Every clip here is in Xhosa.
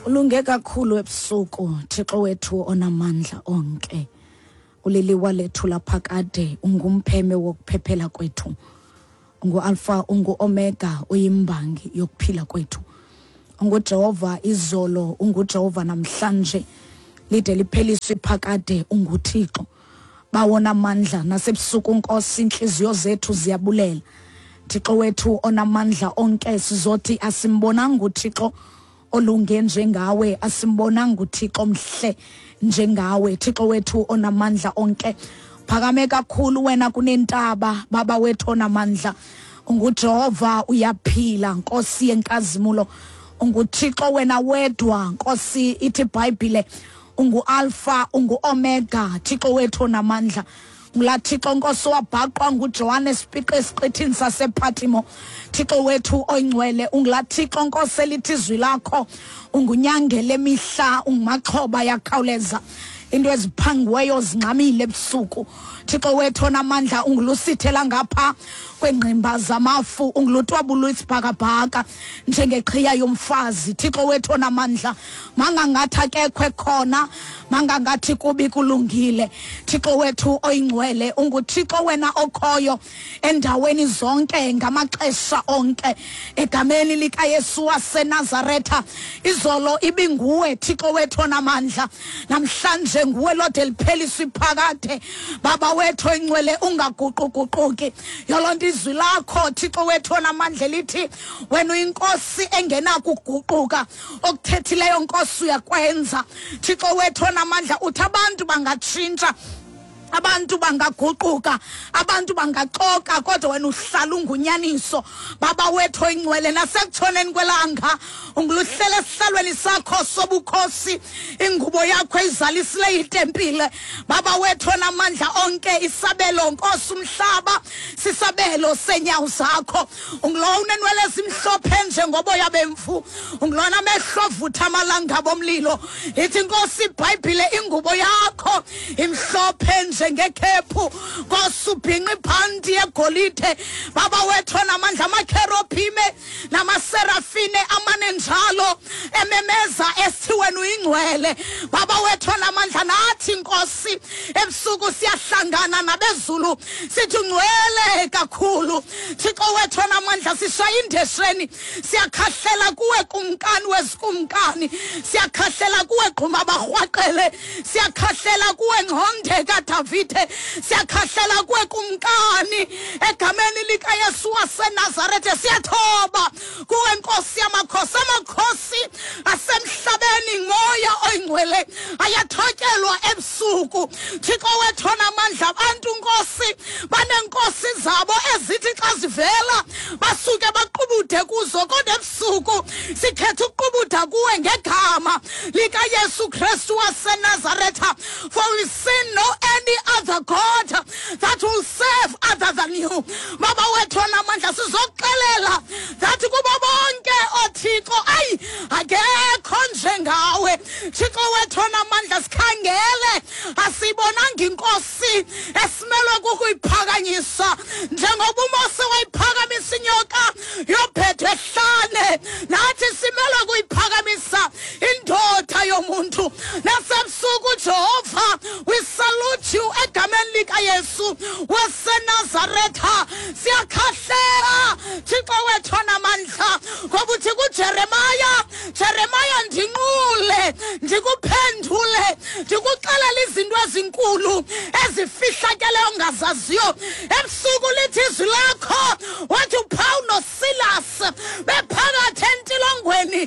Ulunge kakhulu ebusuku, Thixo wethu onamandla onke. Uliliwa lethu laphakade, ungumpheme wokuphephela kwethu. Ungu-Alpha, ungu-Omega, uyimbangi yokuphila kwethu. UnguJehova izolo, unguJehova namhlanje. Lide lipheliswe iphakade, unguThixo. Bawona amandla nasebusuku Nkosi, inhliziyo zethu ziyabulela. Thixo wethu onamandla onke, sizothi asimbonanga uThixo olunge njengawe, asimbonanga uThixo mhle njengawe. Thixo wethu onamandla onke, phakame kakhulu wena kunentaba, baba wethu onamandla. UnguJehova, uyaphila, Nkosi yenkazimulo. UnguThixo wena wedwa, Nkosi, ithi iBhayibhile ungu-Alpha, ungu-Omega, Thixo wethu onamandla. Ngulaa Thixo Nkosi wabhaqwa nguJohane Spiqe esiqithini sasePatimo. Thixo wethu oyingcwele, ungulaa Thixo Nkosi elithi izwi lakho ungunyangela emihla, ungumaxhoba yakhawuleza. Into eziphangiweyo zingxamile ebusuku. Thixo wethu onamandla, ungulusithela ngapha kwengqimba zamafu, ungulutwabulu isibhakabhaka njengeqhiya yomfazi. Thixo wethu onamandla, mangangathi akekho ekhona, mangangathi kubi kulungile. Thixo wethu oyingcwele, unguThixo wena okhoyo endaweni zonke ngamaxesha onke. Egameni likaYesu waseNazaretha, izolo ibinguwe Thixo wethu onamandla, namhlanje nguwe lode lipheliswe iphakade. Baba wethu oyingcwele, ungaguquguquki. Yoloo nto izwi lakho Thixo wethu onamandla lithi wena uyinkosi engenakuguquka, okuthethileyo Nkosi uyakwenza. Thixo wethu onamandla, uthi abantu bangatshintsha, abantu bangaguquka, abantu bangaxoka, kodwa wena uhlala ungunyaniso. Baba wethu oyingcwele, nasekutshoneni kwelanga unguluhlela esihlalweni sakho sobukhosi, ingubo yakho izalisile itempile. Baba wethu onamandla onke, isabelo Nkosi umhlaba sisabelo senyawo zakho. Ungulowo unenwele ezimhlophe njengoboya bemvu, ungulona amehlo avutha amalanga bomlilo. Ithi Nkosi iBhayibhile, ingubo yakho imhlophe njengekhephu. Nkosi ubhinqa ibhanti yegolide. Baba wethu onamandla, amakherobhime namaserafine amane njalo ememeza esithi wena uyingcwele. Baba wethu onamandla, nathi Nkosi ebusuku siyahlangana nabezulu sithi ungcwele kakhulu. Thixo wethu onamandla, sishaya indesheni, siyakhahlela kuwe kumkani wezikumkani, siyakhahlela kuwe gquma barhwaqele, siyakhahlela kuwe ngconde kaDavide, siyakhahlela kuwe kumkani. Egameni likaYesu waseNazarethe siyathoba kuwe Nkosi yamakhosi. Amakhosi asemhlabeni moya oyingcwele ayathotyelwa ebusuku. Thixo wethu onamandla, abantu Nkosi baneenkosi zabo ezithi xa zivela basuke baqubude kuzo, kodwa ebusuku sikhetha ukuqubuda kuwe ngegama likaYesu Kristu waseNazaretha. For we see no any other God that will serve other than you. Baba wethu onamandla, sizokuxelela that kubo bonke ooThixo ayi akekho njengawe. Thixo wethu onamandla, sikhangele asiyibonanga inkosi esimelwe kukuyiphakanyisa njengoba uMose wayiphakamisa inyoka yobhedwe ehlane, nathi simelwe kuyiphakamisa indoda yomuntu. Nasebusuku Jehova, we salute you egameni likaYesu waseNazaretha. Siyakhahlela Thixo wethu onamandla, ngoba uthi kuJeremiya, Jeremiya ndinqule, ndikuphendule, ndikuxelela izinto ezinkulu ezifihlakeleyo ongazaziyo. Ebusuku lithi izwi lakho, wathi uPaul noSilas bephakathi entilongweni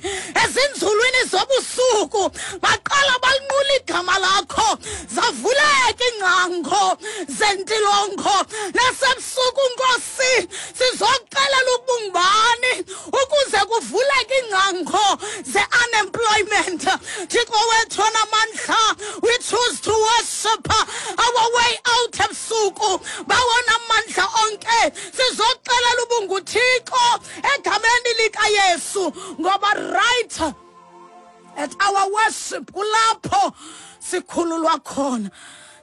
ezinzulwini zobusuku baqala balinqula igama lakho, zavuleka iingcango zentilongo. Nasebusuku Nkosi sizokuxelela ubungubani ukuze kuvuleke iingcango ze-unemployment. Thixo wethu onamandla, we choose to worship our way out ebusuku. Bawona amandla onke, sizokuxelela ubunguThixo egameni likaYesu, ngoba right at our worship kulapho sikhululwa khona.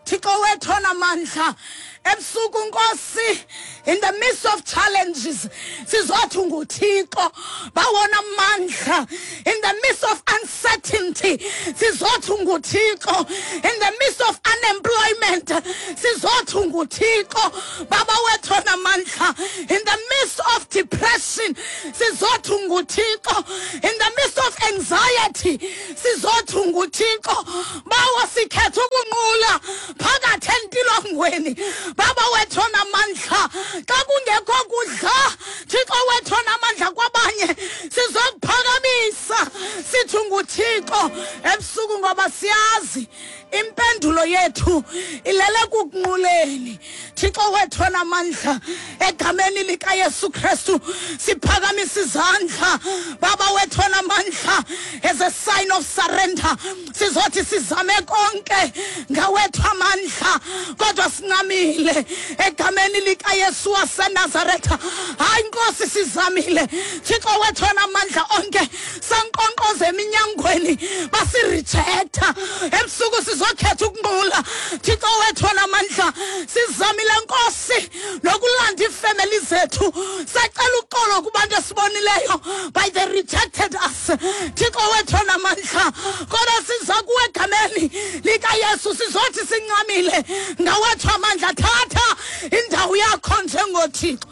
Thixo wethu onamandla, ebusuku Nkosi, in the midst of challenges sizothi unguThixo. Bawona amandla, in the midst of uncertainty. uncertainty sizothi unguThixo. In the midst of unemployment sizothi unguThixo. Baba wethu onamandla, in the midst of depression sizothi unguThixo. In the midst of anxiety sizothi unguThixo. Bawo, sikhetha ukunqula phakathi entilongweni. Baba wethu onamandla, xa kungekho kudla, Thixo wethu onamandla, kwabanye sizokuphakamisa sithi unguThixo ebusuku, ngoba siyazi impendulo yethu ilele kukunquleni. Thixo wethu onamandla, egameni likaYesu Kristu siphakamisa izandla, Baba wethu onamandla, as a sign of surrender. Sizothi sizame konke ngawethu amandla, kodwa sincamile egameni likaYesu waseNazaretha. Hayi Nkosi, sizamile, Thixo wethu onamandla onke, sankqonkqoza eminyangweni basirejecta. Ebusuku sizokhetha ukunqula, Thixo wethu onamandla. Sizamile Nkosi nokulanda iifemeli zethu, sacela uxolo kubantu esibonileyo, but they rejected us, Thixo wethu onamandla. Kodwa siza kuwe egameni likaYesu, sizothi sincamile ngawethu amandla. Thatha indawo yakho njengoThixo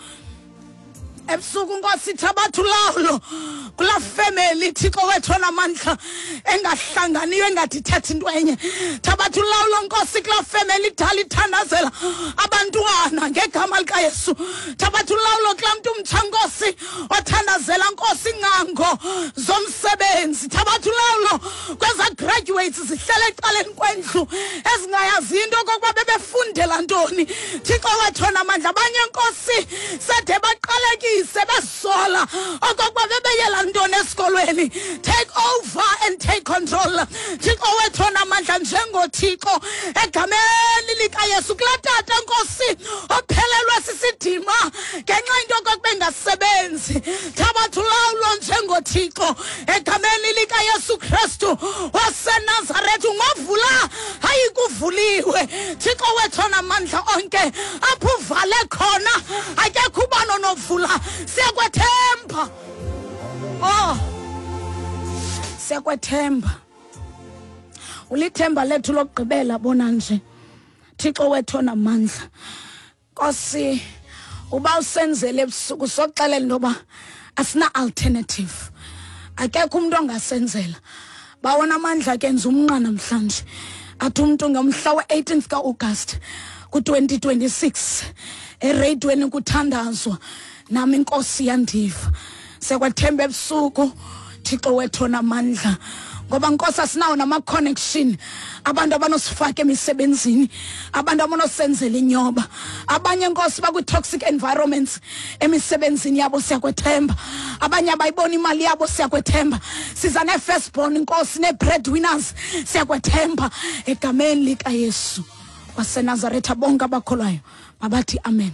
ebusuku Nkosi. Thabatha ulawulo kulaa femeli, Thixo wethu onamandla, engahlanganiyo, engathi ithetha into enye. Thabatha ulawulo Nkosi kulaa femeli idala ithandazela abantwana ngegama likaYesu. Thabatha ulawulo kulaa mntu mtsha Nkosi othandazela Nkosi ingcango zomsebenzi. Thabatha ulawulo kwezaa graduates zihlele ecaleni kwendlu ezingayaziyo into okokuba bebefundela ntoni, Thixo wethu onamandla. Abanye Nkosi sede baqalekise besola okokuba bebeyela ntoni esikolweni. Take over and take control, Thixo wethu onamandla, njengoThixo egameni likaYesu. Kulaa tata Nkosi ophelelwe sisidima ngenxa into okokuba engasebenzi, thabatha ulawulo njengoThixo egameni likaYesu Kristu waseNazaretha. Ungovula, hayi kuvuliwe, Thixo wethu onamandla onke. Apho uvale khona akekho ubani onovula. Siyakwethemba, oh, siyakwethemba, ulithemba lethu lokugqibela. Bona nje, Thixo wethu onamandla, Nkosi, uba usenzele ebusuku, sokuxelela into yoba asina alternative, akekho umntu ongasenzela. Bawona amandla, kenza umnqa namhlanje, athi umntu ngomhla we-18th ka-August ku-2026 ereyidweni kuthandazwa nami, inkosi yandiva. Siyakwethemba ebusuku, Thixo wethu onamandla, ngoba Nkosi asinawo nama-connection, abantu abanosifaka emisebenzini, abantu abanosenzela inyoba. Abanye Nkosi bakwi-toxic environments emisebenzini yabo. Siyakwethemba. Abanye abayibona imali yabo. Siyakwethemba. Siza nee-firstborn Nkosi, nee-bread winners. Siyakwethemba egameni likaYesu waseNazaretha. Bonke abakholwayo mabathi amen.